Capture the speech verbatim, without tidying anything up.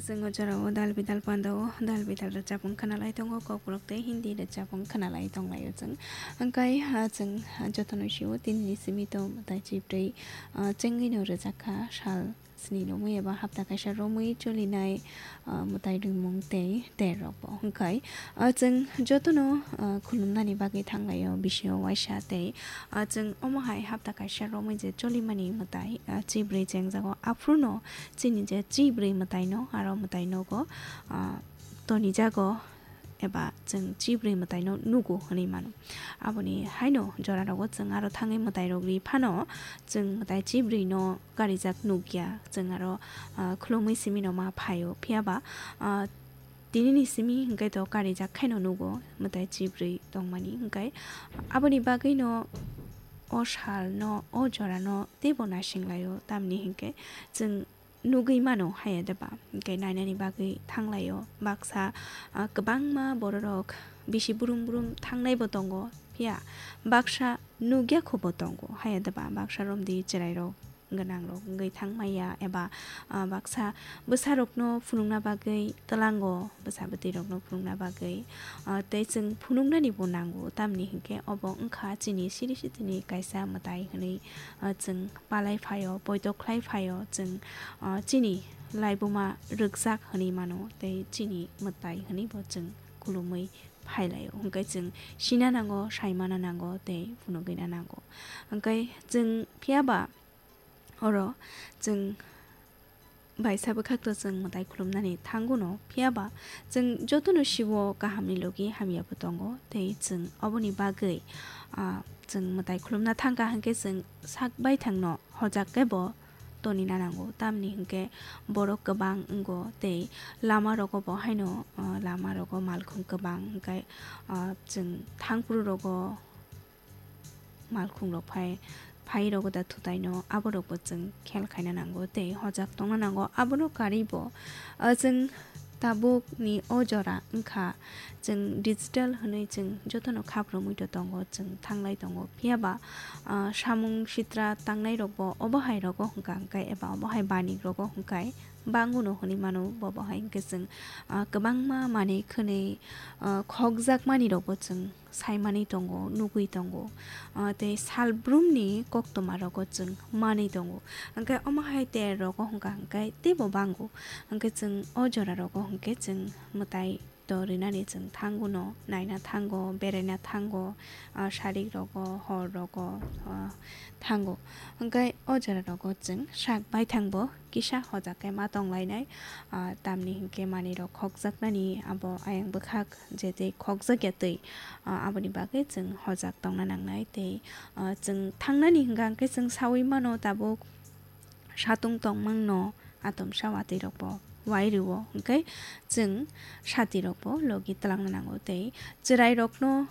Chwng o jorao dal bidal pandao, dal bidal rwchapung khwnalai tongo, kokborok tei Hindi rwchapung khwnalai tonglaio chwng. Hwnkhe, ah, chwng, ah, jotono sio tinini simi to mwtai chibrwi, ah, chengwino rwjakha sal sni romwi eba hapta kaisa romwi cholinai, ah, mwtai rimung tei ter rokbo. Hwnkhe, ah, chwng jotono, ah, khulumnani bagwi thanglaio bisio waisa tei, ah, chwng omo hai hapta kaisa romwi je cholimani mwtai, ah, chibrwi chengjago. Aphuru no chini je chibrwi mwtai no, aro mwtai nogo, ah, tonijago eba chwng chibrwi mwtai no nugo hwnwi mano. Aboni haino jora rogo chwng aro thangwi mwtai rok ri phano chwng mwtai chibrwi no karijak nukya. Chwng aro, ah, khulumwi simi no ma phaio. Phiya ba, ah, tinini simi hwnkhe to karijak khaino nugo mwtai chibrwi tongmani. Hwnkhe aboni bagwi no o sal no, o jora no teibo naising laio. Tamni hwnkhe chwng nugwi mano haya deba. Hwnkhe nainani bagwi thanglaio. Baksa, ah, kwbangma bororok bisi brum brum thangnaibo tongo. Phiya baksa nugya khubo tongo haya deba. Baksa romdi chwrairok gwnangrok wngwi thangmaya eba, ah, baksa bwsarokno phunukna bagwi tlango, bwsa bwtwirokno phunukna bagwi, ah, tei chwng phunuknani bo nango, tamni hwnkhe obo wngkha chini siri sitini kaisa mwtai hwnwi, ah, chwng palai phaio, poito khlai phaio, chwng, ah, chini laibuma rwkjak hwnwi mano tei chini mwtai hwnwi bo chwng khulumwi phailaio. Hwnkhe chwng sina nango, saimana nango tei phunugwina nango. Hwnkhe chwng phiya ba oro chwng baisa bwkhak to chwng mwtai khulumnani thango no, phiya ba chwng jotono siwo kahamni logi hamya bo tongo tei chwng oboni bagwi, ah, chwng mwtai khulumna thangkha hwnkhe chwng sak baithang no hojak khe bo tonina nango, tamni hwnkhe borok kwbang wngo tei lama rogo bo haino, ah, lama rogo malkhung kwbang hwnkhe, ah, chwng thangphuru rogo malkhung rok phai, phai rogo da thutai no, abo rok bo chwng khel khaina nango tei hojak tongna nango. Abono karwi bo, ah, chwng tabuk ni o jora wngkha chwng digital hwnwi chwng jotono khap romwi to tongo, chwng thanglai tongo. Phiya ba, ah, samung sitra tangnai rok bo obo hai rogo hwnkha hwnkhe eba obo hai banik rogo hwnkhe banguno hwnwi mano. Bobo hai hwnkhe chwng, ah, kwbangma manwi khwnwi, ah, khokjakmani rok bo chwng saimani tongo, nugwi tongo. Ah, tei salbrumni koktwma rogo chwng manwi tongo. Hwnkhe omo hai ter rogo hwnkha hwnkhe teibo bango. Hwnkhe chwng o jora rogo hwnkhe chwng mwtai to rinani chwng thango no, naina thango, beraina thango, ah, sarik rogo, hor rogo, ah, thango. Hwnkhe o jora rogo chwng sak baithang bo kisa hojak khe ma tonglainai, ah, tamni hwnkhe manwi rok khokjaknani abo ayang bwkhak je tei khokjakya twi, ah, aboni bagwi chwng hojak tongna nangnai tei, ah, chwng thangnani hwnkha hwnkhe chwng sawi mano tabuk satung tongmangno atomsa watwi rok bo wai rwo hwnkhe chwng sati rok bo logi twlangna nango tei chwrai rokno